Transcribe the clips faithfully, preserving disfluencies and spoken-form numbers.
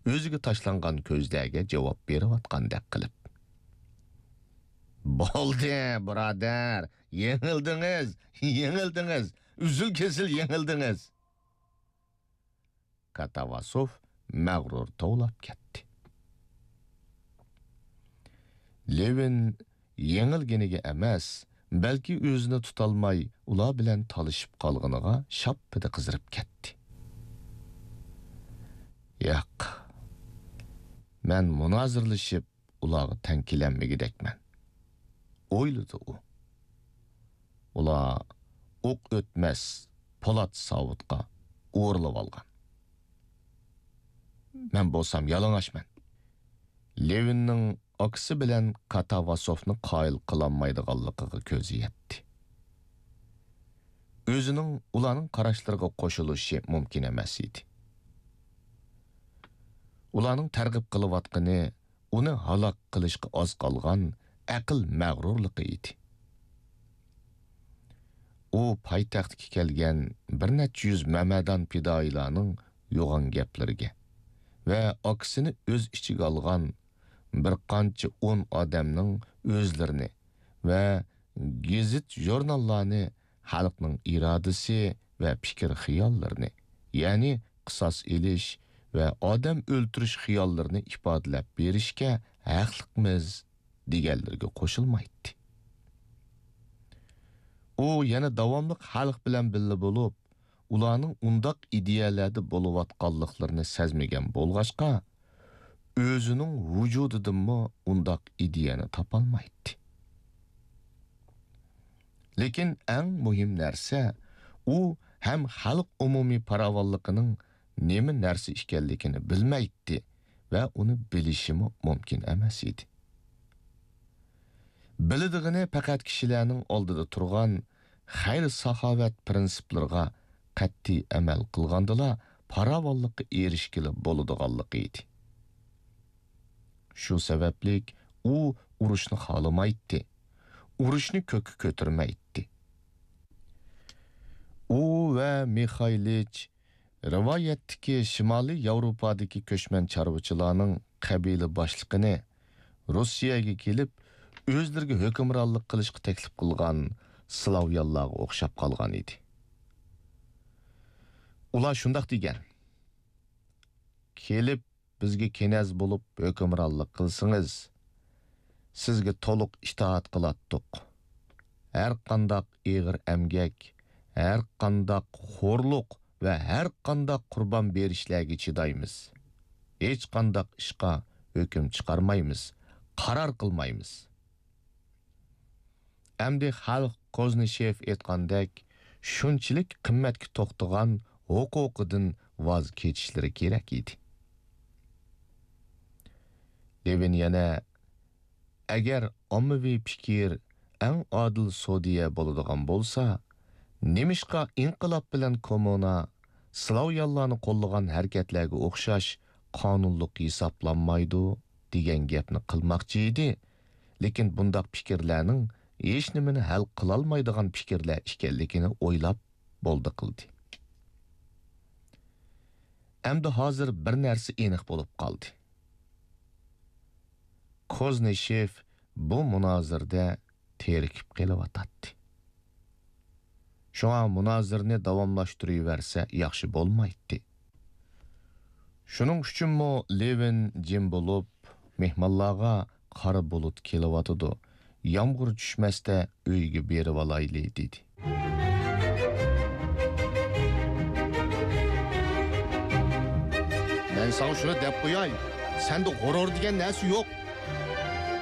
ئۆزىگە تاشلانغان كۆزلەرگە جاۋاب بېرىۋاتقاندەك قىلىپ. بولدى، بۇرادەر، يېڭىلدىڭىز، يېڭىلدىڭىز، ئۈزۈل-كېسىل يېڭىلدىڭىز. كاتاۋاسوف مەغرۇر توۋلاپ كەتتى. لېۋىن يېڭىلگىنىگە ئەمەس، بەلكى ئۆزىنى تۇتالماي ئۇلار بىلەن تالىشىپ قالغىنىغا شاپپىدە قىزىرىپ كەتتى. ياق، مەن مۇنازىرىلىشىپ ئۇلارغا تەڭ كېلەلمىگۈدەكمەن، ئويلىدى ئۇ. ئۇلار ئوق ئۆتمەس پولات ساۋۇتقا ئورىلىۋالغان. مەن بولسام يالىڭاچمەن. لېۋىننىڭ ئاكىسى بىلەن كاتاۋاسوفنى قايىل قىلالمايدىغانلىقىغا كۆزى يەتتى. ئۆزىنىڭ ئۇلارنىڭ قاراشلىرىغا قوشۇلۇشى مۇمكىن ئەمەس ئىدى. ئۇلارنىڭ تەرغىب قىلىۋاتقىنى ئۇنى ھالاك قىلىشقا ئاز قالغان ئەقىل مەغرۇرلۇقى ئىدى. ئۇ پايتەختكە كەلگەن بىر نەچچە يۈز مەمەدان پىدائىيلارنىڭ يوغان گەپلىرىگە ۋە ئاكىسىنى ئۆز ئىچىگە ئالغان بىر قانچە ئون ئادەمنىڭ ئۆزلىرىنى ۋە گېزىت-ژۇرناللارنى خەلقنىڭ ئىرادىسى ۋە پىكىر-خىياللىرىنى، يەنى قىساس ئېلىش ۋە ئادەم ئۆلتۈرۈش خىياللىرىنى ئىپادىلەپ بېرىشكە ھەقلىقمىز دېگەنلىرىگە قوشۇلمايتتى. ئۇ يەنە داۋاملىق خەلق بىلەن بىللە بولۇپ، ئۇلارنىڭ ئۇنداق ئىدىيەلەردە بولۇۋاتقانلىقلىرىنى سەزمىگەن بولغاچقا، ئۆزىنىڭ ۋۇجۇدىدىنمۇ ئۇنداق ئىدىيەنى تاپالمايتتى. لېكىن ئەڭ مۇھىم نەرسە، ئۇ ھەم خەلق ئومۇمىي پاراۋانلىقىنىڭ نېمە نەرسە ئىكەنلىكىنى بىلمەيتتى ۋە ئۇنى بىلىشىمۇ مۇمكىن ئەمەس ئىدى. بىلىدىغىنى پەقەت كىشىلەرنىڭ ئالدىدا تۇرغان خەير-ساخاۋەت پىرىنسىپلىرىغا قەتئىي ئەمەل قىلغاندىلا پاراۋانلىققا ئېرىشكىلى بولىدىغانلىقى ئىدى. شۇ سەۋەبلىك ئۇ ئۇرۇشنى خالىمايتتى، ئۇرۇشنى كۆككە كۆتۈرمەيتتى. ئۇ ۋە مىخايلىچ رىۋايەتتىكى شىمالىي ياۋروپادىكى كۆچمەن چارۋىچىلارنىڭ قەبىلە باشلىقىنى روسىيەگە كېلىپ، ئۆزلىرىگە ھۆكۈمرانلىق قىلىشقا تەكلىپ قىلغان سلاۋيانلارغا ئوخشاپ قالغان ئىدى. ئۇلار شۇنداق دېگەن: «كېلىپ، بىزگە كېنەز بولۇپ ھۆكۈمرانلىق قىلسىڭىز، سىزگە تولۇق ئىتائەت قىلاتتۇق. ھەرقانداق ئېغىر ئەمگەك، ھەرقانداق خورلۇق ۋە ھەرقانداق قۇربان بېرىشلەرگە چىدايمىز. ھېچقانداق ئىشقا ھۆكۈم چىقارمايمىز، قارار قىلمايمىز.» ئەمدى خەلق كوزنىشېف ئېيتقاندەك شۇنچىلىك قىممەتكە توختىغان ھوقۇقىدىن ۋاز كېچىشلىرى كېرەك ئىدى. لېۋىن يەنە، ئەگەر ئاممىۋى پىكىر ئەڭ ئادىل سودىيە بولىدىغان بولسا، نېمىشقا ئىنقىلاب بىلەن كوممۇنا سلاۋيانلارنى قوللىغان ھەرىكەتلەرگە ئوخشاش قانۇنلۇق ھېسابلانمايدۇ؟ دېگەن گەپنى قىلماقچى ئىدى، لېكىن بۇنداق پىكىرلەرنىڭ ھېچنېمىنى ھەل قىلالمايدىغان پىكىرلەر ئىكەنلىكىنى ئويلاپ بولدى قىلدى. ئەمدى ھازىر بىر نەرسە ئېنىق بولۇپ قالدى. كوزنىشېف بۇ مۇنازىرىدە تېرىكىپ قېلىۋاتاتتى. شۇڭا مۇنازىرىنى داۋاملاشتۇرۇۋەرسە ياخشى بولمايتتى. شۇنىڭ ئۈچۈنمۇ لېۋىن جىم بولۇپ، مېھمانلارغا «قارا بۇلۇت كېلىۋاتىدۇ، يامغۇر چۈشمەستە ئۆيگە بېرىۋالايلى» دېدى. مەن ساڭا شۇنى دەپ قوياي، سەندە غۇرۇر دېگەن نەرسە يوق.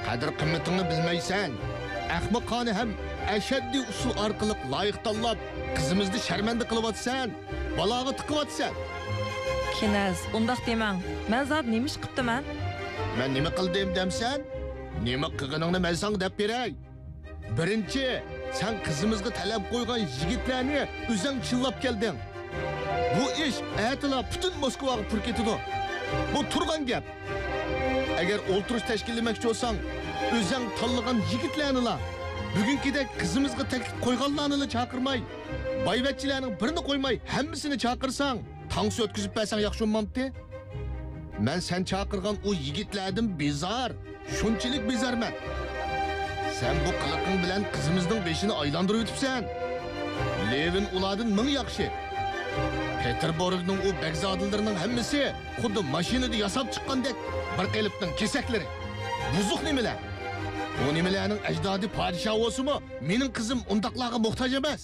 قەدىر-قىممىتىڭنى بىلمەيسەن. ئەخمىقانە ھەم ئەشەددىي ئۇسۇل ئارقىلىق لايىق تاللاپ، قىزىمىزنى شەرمەندە قىلىۋاتىسەن، بالاغا تىقىۋاتىسەن. كېنەز، ئۇنداق دېمەڭ. مەن زادى نېمە ئىش قىپتىمەن؟ مەن نېمە قىلدىم دەمسەن؟ نېمە قىلغىنىڭنى مەن ساڭا دەپ بېرەي. بىرىنچى، سەن قىزىمىزغا تەلەپ قويغان يىگىتلەرنى ئۆزەڭ چىللاپ كەلدىڭ. بۇ ئىش ئەتىلا پۈتۈن موسكۋاغا پۇر كېتىدۇ. بۇ تۇرغان گەپ. ئەگەر ئولتۇرۇش تەشكىللىمەكچى بولساڭ، ئۆزەڭ تاللىغان يىگىتلەرنىلا، بۈگۈنكىدەك قىزىمىزغا تەكلىپ قويغانلارنىلا چاقىرماي، بايۋەچچىلەرنىڭ بىرىنى قويماي ھەممىسىنى چاقىرساڭ، تانسا ئۆتكۈزۈپ بەرسەڭ ياخشى بولمامتى؟ مەن سەن چاقىرغان ئۇ يىگىتلەردىن بىزار، شۇنچىلىك بىزارمەن. سەن بۇ قىلىقىڭ بىلەن قىزىمىزنىڭ بېشىنى ئايلاندۇرۇۋېتىپسەن. لېۋىن ئۇلاردىن مىڭ ياخشى. پېتېربۇرگنىڭ ئۇ بەگزادىلىرىنىڭ ھەممىسى خۇددى ماشىنىدا ياساپ چىققاندەك بىر قېلىپنىڭ كېسەكلىرى. بۇزۇق نېمىلەر؟ ئۇ نېمىلەرنىڭ ئەجدادى پادىشاھ بولسىمۇ، مېنىڭ قىزىم ئۇنداقلارغا موھتاج ئەمەس.